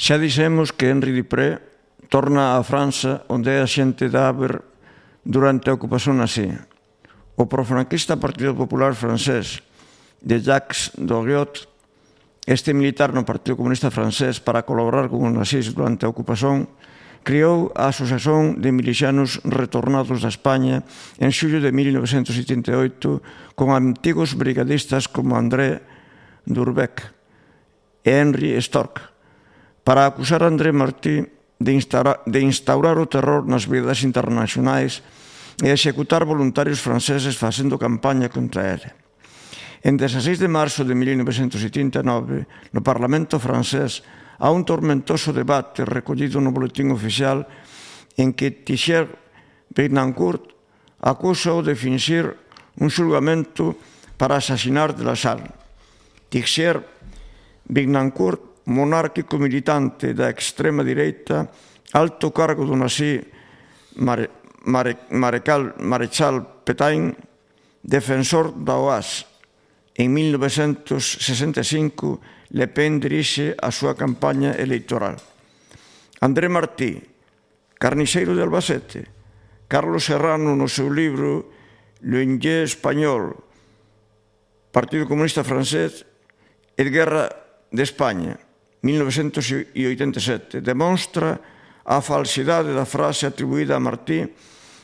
Xa dixemos que Henri Dupré torna á França onde é axente de Haber durante a ocupación nazi. O profranquista Partido Popular francés de Jacques Doriot, este militar no Partido Comunista francés para colaborar con os nazis durante a ocupación, criou a Asociación de Milicianos Retornados da España en xullo de 1978 con antigos brigadistas como André Durbeck e Henri Storck, para acusar a André Martí de instaurar o terror nas vidas internacionais e executar voluntarios franceses facendo campaña contra ele. En 16 de marzo de 1979, no Parlamento francés, há un tormentoso debate recollido no boletín oficial en que Thierry Betancourt acusa de finxir un xulgamento para asasinar de la Salle. Thierry Betancourt, monárquico militante da extrema direita, alto cargo do nazi Marechal Pétain, defensor da OAS. En 1965, Le Pen dirixe a súa campaña electoral. André Martí, carniceiro de Albacete. Carlos Serrano, no seu libro L'Union Español, Partido Comunista Francés e Guerra de España, 1987, demonstra a falsidade da frase atribuída a Martí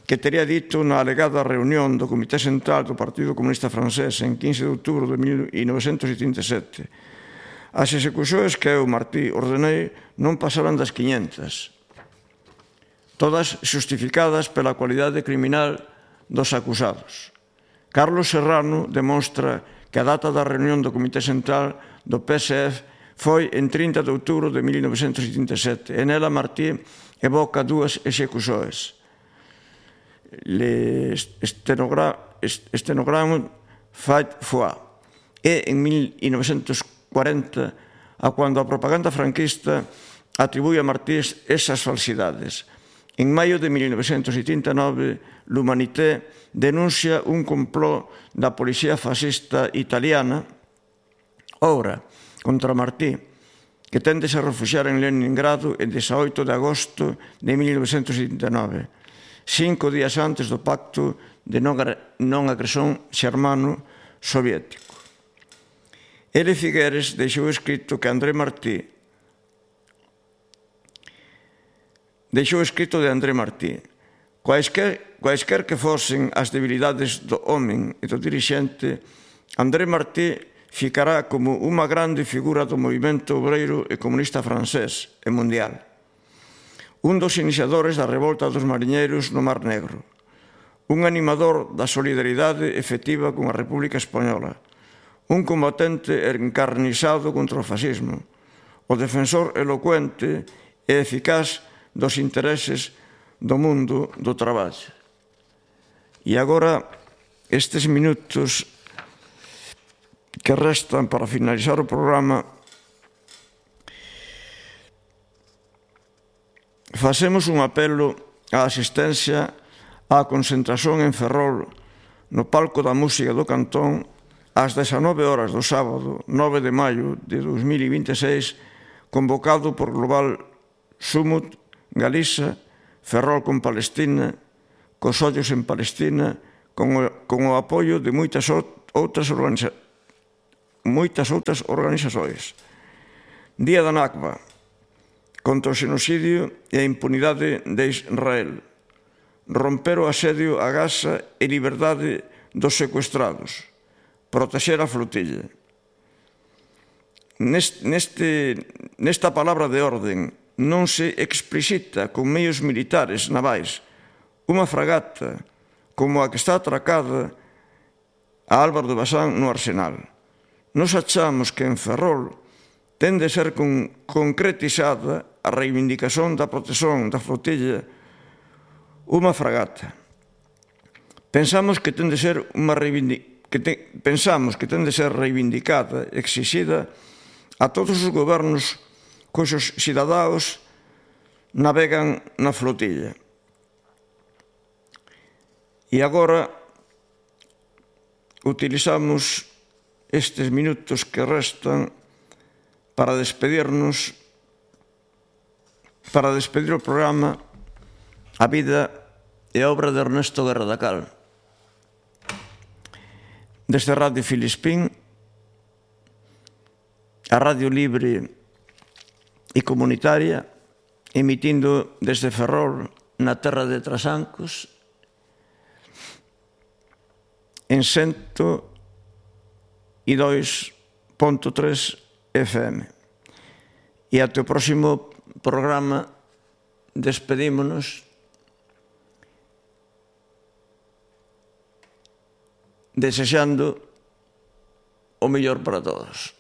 que tería dito na alegada reunión do Comité Central do Partido Comunista Francés en 15 de outubro de 1987. As execucións que eu, Martí, ordenei non pasaran das 500, todas xustificadas pela cualidade criminal dos acusados. Carlos Serrano demonstra que a data da reunión do Comité Central do PSF foi en 30 de outubro de 1987 e nela Martí evoca dúas execucións. L'Estenogramme Fait Foi e en 1940 a cuando a propaganda franquista atribui a Martí esas falsidades. En maio de 1989, l'Humanité denuncia un complot da policía fascista italiana, ora, contra Martí, que tende a refuxiar en Leningrado en 18 de agosto de 1979, 5 días antes do pacto de non agresión xermano-soviético. L. Figueres deixou escrito de André Martí, Quaisquer que fosen as debilidades do home e do dirixente, André Martí ficará como unha grande figura do movimento obreiro e comunista francés e mundial. Un dos iniciadores da revolta dos mariñeiros no Mar Negro. Un animador da solidaridade efectiva con a República Española. Un combatente encarnizado contra o fascismo. O defensor elocuente e eficaz dos intereses do mundo do traballo. E agora, estes minutos que restan para finalizar o programa, facemos un apelo á asistencia á concentración en Ferrol no palco da música do Cantón ás 19 horas do sábado 9 de maio de 2026, convocado por Global Sumut Galiza, Ferrol con Palestina, cos ollos en Palestina, con o apoio de moitas outras organizacións. Día da Nakba, contra o xenocidio e a impunidade de Israel. Romper o asedio a Gaza e liberdade dos secuestrados. Protexer a flotilla. Nesta palabra de orden non se explicita con meios militares navais unha fragata como a que está atracada a Álvaro de Bazán no Arsenal. Nos achamos que en Ferrol ten de ser concretizada a reivindicación da protección da flotilla unha fragata. Pensamos que ten de ser reivindicada, exixida a todos os gobernos cuxos cidadáns navegan na flotilla. E agora utilizamos estes minutos que restan para despedirnos para despedir o programa, a vida e a obra de Ernesto Guerra da Cal. Desde Radio Filispín, a radio libre e comunitaria, emitindo desde Ferrol, na terra de Trasancos, en 102.3 FM. E até o próximo programa despedímonos desexando o mellor para todos.